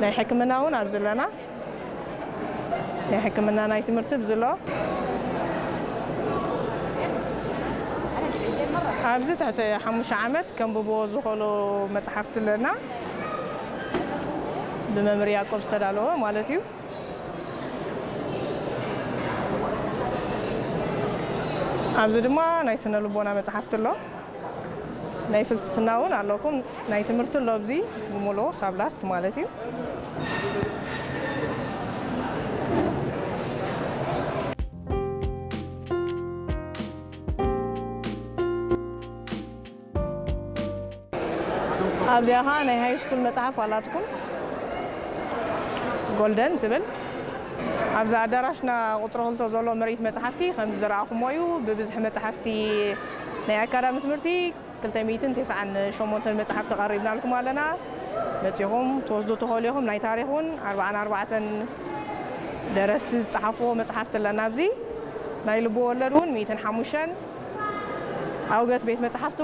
ናይ ሕክምና እውን ኣብዚ ኣለና። ናይ ሕክምና ናይ ትምህርቲ ኣብዚ ኣሎ። ኣብዚ ትሕቲ ሓሙሽተ ዓመት ከንብብዎ ዝኽእሉ መጽሓፍቲ ኣለና። ብመምህር ያዕቆብ ዝተዳለወ ማለት እዩ። ኣብዚ ድማ ናይ ስነ ልቦና መጽሓፍቲ ኣሎ። ናይ ፍልስፍና እውን ኣለኩም። ናይ ትምህርቲ ኣሎ ኣብዚ ብምሉኡ ሳብ ላስት ማለት እዩ። ኣብዚኣ ኸዓ ናይ ሃይ ስኩል መጽሓፍ ኣላትኩም፣ ጎልደን ትብል። ኣብዚ ኣዳራሽና ቁጽሪ ክልተ ዘሎ ምርኢት መጽሓፍቲ ከም ዝረኣኹሞ እዩ። ብብዝሒ መጽሓፍቲ ናይ ኣካዳሚ ትምህርቲ ክልተ ሚእትን ተስዓን ሸሞንተን መጽሓፍቲ ቀሪብናልኩም ኣለና። መጺኹም ትወስዱ ትኽእሉ ኢኹም። ናይ ታሪኽ እውን ኣርባዓን ኣርባዕተን ደረስቲ ዝጸሓፍዎ መጽሓፍቲ ኣለና። ኣብዚ ናይ ልቢ ወለድ እውን ሚእትን ሓሙሽተን፣ ኣውገት ቤት መጽሓፍቲ